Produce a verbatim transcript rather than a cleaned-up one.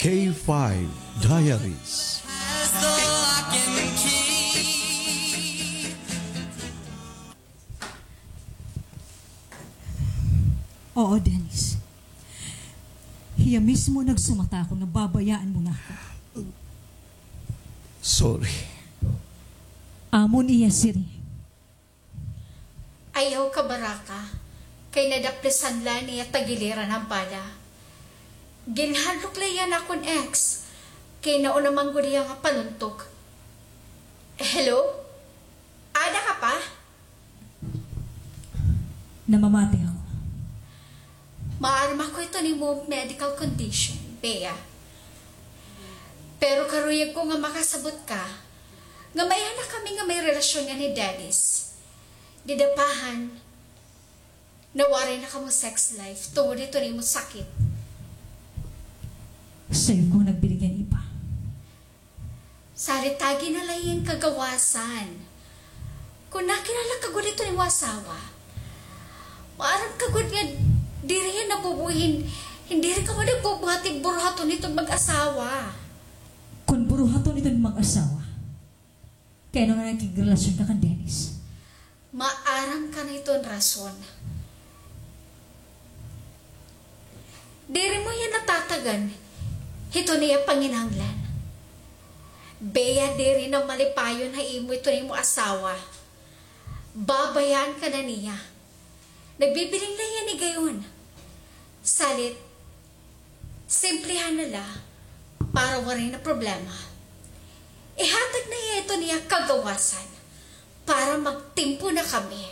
K five Diaries. Oo, Dennis. Hiya mismo nagsumata ako nga babayaan mo na ako. Sorry. Amo niya, Siri. Ayaw kabaraka, kay nadaplisan la niya tagiliran an bala. Ginhadlok la hiya han akon ex, kay nauna man gud hiya nga paluntok. Hello? Ada ka pa? Namamati ako. Maaram ako hiton imo medical condition, Bea. Pero karuyag ko nga makasabot ka nga maiha na kami nga may relasyon ngan hi Dennis. Dida pa han, nawaray na kamo sex life tungod hiton imo sakit. Sayo ko nagbiling han iba. Salit, tagi na la hiya hin kagawasan. Kon nakilala ka gud hiton imo asawa, maaram ka gud nga diri hiya nabubuhi hin, hin diri kamo nagbubuhat hin buruhaton hiton mag-asawa. Kon buruhaton hiton mag-asawa, kay ano nga nakigrelasyon ka kan Dennis? Maaram ka na hiton rason. Diri mo hiya natatagan hiton iya panginahanglan. Bea, diri na malipayon ha imo hiton imo asawa. Babayaan ka na niya. Nagbibiling la hiya ni gayon. Salit, simplehan na la para waray na problema. Ihatag na hiya hiton iya kagawasan para magtimpo na kami